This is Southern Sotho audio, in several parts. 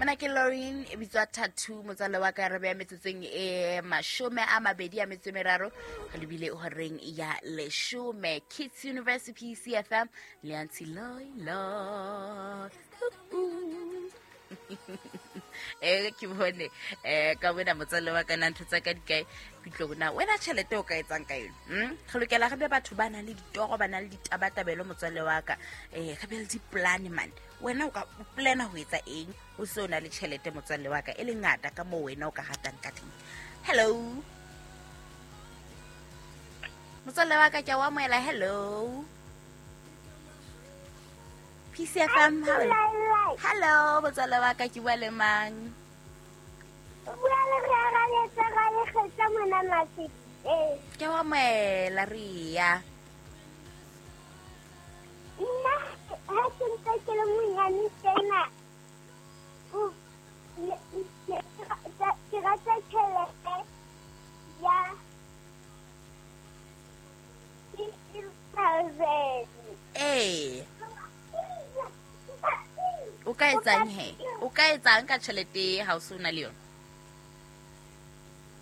Mona ke Lauren e bitswa Tattoo, motswalle wa ka. Re beya metsotsong e 23 re lebile horeng ya 10. Kids University, PCFM le Auntie Loilo. Ke bone ka wena, motswalle wa ka, na ntho tsa ka di kae? Ke na wena tjhelete o ka etsang ka yone? Re lokela re be batho ba nang le ditoro, ba nang le ditabatabelo, motswalle wa ka. Re be le di-plan man. Wena o ka o plana ho etsa eng o se o na le tjhelete, motswalle wa ka, e le ngata ka moo wena o ka ratang ka teng? Hello, motswalle wa ka, ke a o amohela. Hello, PCFM. Hello, motswalle wa ka, ke bua le mang? Bua le re arabetse ra lekgetla mona Mafikeng. Ke wa amohela, Ria. Nna ha ke ntse ke le monyane tjena, ke rata tjhelete ya 50,000. Ee, o ka etsang he? O ka etsang ka tjhelete ha o se o na le yona?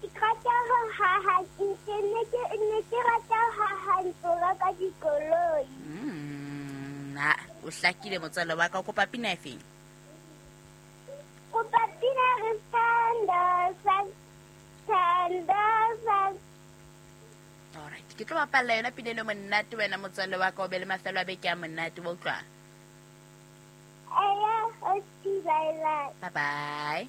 Ke rata ho haha, ke ne ke rata ho haha ntlo, reka dikoloi. Ha o hlakile, motswalle wa ka. O kopa pina e feng? Kopa pina re Thando Sam, Thando Sam. Alright, ke tlo bapalla yona pina eno. Monate wena, motswalle wa ka. O be le mafelo a beke a monate wa utlwang. Eya, o bye bye. Bye bye.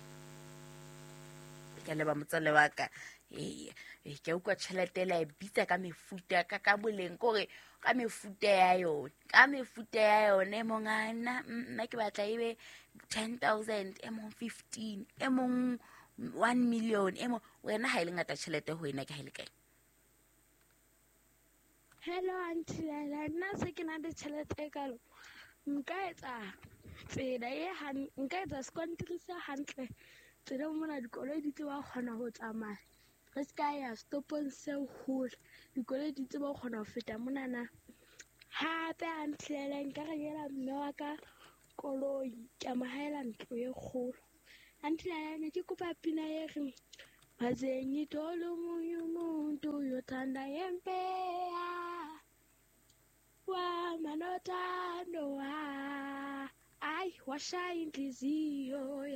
Ke a leba, motswalle wa ka. Ee, ke a utlwa tjhelete la e bitsa ka mefuta, ka boleng, kore ka mefuta ya yone, ka mefuta ya yone. E mong a nna ke batla e be 10,000, e mong 15, e mong 1 million, e mong. Wena ha e le ngata tjhelete ho wena, ke ha e le kae? Hello, Aunty Laila. Nna se ke na le tjhelete e kalo, nka etsa tsela e nka etsa sekontiri se hantle tseleng mona, dikoloi di tseba ho kgona ho tsamaya, re se ka ya setopong se hole, dikoloi di tsebe ho kgona ho feta monana. Hape, Aunty Laila, nka rekela mme wa ka koloi, ke a mo haela ntlo e kgolo. Aunty Laila, ne ke kopa pina e reng maze ngithole omunye umuntu uyothanda ngempela wamanothando wa ayi washaya inhliziyo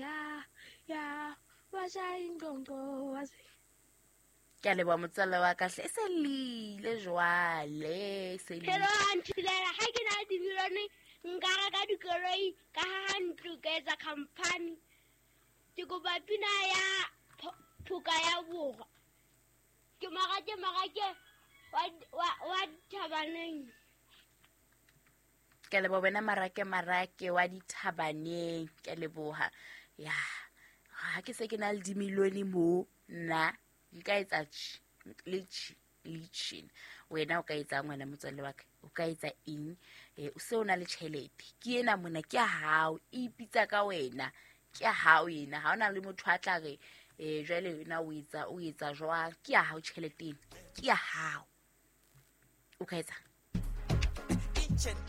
ya washaya ingqondo waze. Ke a leboha, motswalle wa ka hle. E se lile jwale, e se lile. Hello, Aunty Lela. Ha ke na le dimilione, nka reka dikoloi, ka haha ntlo, ka etsa company. Ke kopa pina ya Phoka ya Borwa. Ke Marake Marake wa Dithabaneng. Ke a leboha wena, Marake Marake wa Dithabaneng. Ke a leboha. Ya, ha ke se ke na le dimilione mo, nna nka etsa tjhe le tjhe le tjhena. Wena o ka etsang, wena motswalle wa ka? O ka etsa eng o se o na le tjhelete? Ke ena mona, ke ya hao, e ipitsa ka wena, ke ya hao ena. Ha ona le motho a tla re jwale wena o etsa jwang. Ke ya hao tjhelete ena, ke ya hao. O ka etsang? Each and